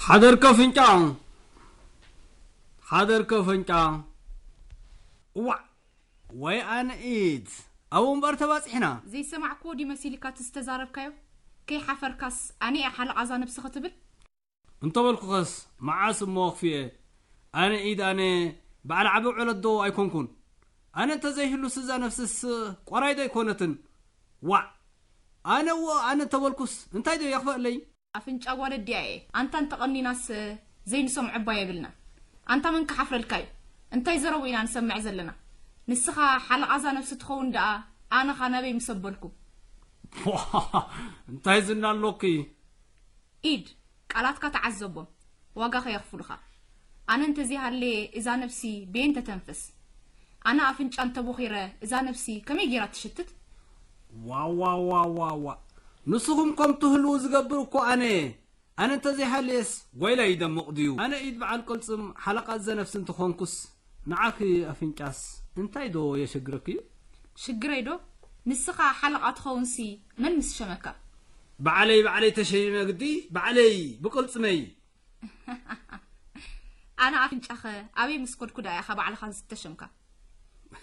ሓደርከ ፍንጫ፣ ሓደርከ ፍንጫ። እዋዕ፣ ወይ ኣነ ኢድ፣ ኣብኡ እምበር ተባጺሕና። ዘይሰማዕክዎ ድዩ መሲልካ እቲ ዝተዛረብካዮ? ከይሓፈርካስ ኣነ እየ ሓለቓ እዛ ነብሲ ክትብል? እንተበልኩኸስ መዓስ እሞ ኣኽፊኤ? ኣነ ኢድ ኣነ በዓል ዓቢ ዕለት ዶ ኣይኮንኩን? ኣነ እንተዘይህሉስ እዛ ነፍስስ ቆራይ ዶ ኣይኮነትን? ዋዕ! ኣነ እዎ ኣነ እንተበልኩስ እንታይ ዶ የኽፈኣለይ? ኣፍንጫ ጓል ኣዲኣ እየ። ኣንታ እንተቐኒናስ ዘይንሰምዖ እባ የብልናን። ኣንታ መን ክሓፍረልካ እዩ? እንታይ ዘረቡ ኢና ንሰምዕ ዘለና? ንስኻ ሓለቓ እዛ ነብሲ ትኸውን ደኣ ኣነኻ ናበይ ምስ ኣበልኩ? እንታይ ዝና ኣሎኪ? ኢድ፣ ቃላትካ ተዓዘቦም፣ ዋጋ ከየኽፍሉኻ። ኣነ እንተዘይሃለየ እዛ ነብሲ በየን ተተንፍስ? ኣነ ኣፍንጫ እንተቦኺረ እዛ ነብሲ ከመይ ጌራ ትሽትት? ዋዋዋዋዋ፣ ንስኹም ከም ትህልዉ ዝገብር እኮ ኣነ እየ። ኣነ እንተዘይሃለየስ ጓይላ ይደምቕ ድዩ? ኣነ ኢድ በዓል ቅልጽም ሓለቓ እዛ ነብሲ እንተኾንኩስ ንዓኺ ኣፍንጫስ እንታይ ዶ የሸግረኪ እዩ? ሽግረይ ዶ? ንስኻ ሓለቓ ትኸውንሲ መን ምስ ሸመካ? ባዕለይ ባዕለይ ተሸይመ ግዲ፣ ባዕለይ ብቅልጽመይ። ኣነ ኣፍንጫኸ ኣበይ ምስ ኮድኩ ደኣ ኢኻ ባዕልኻ ዝተሸምካ?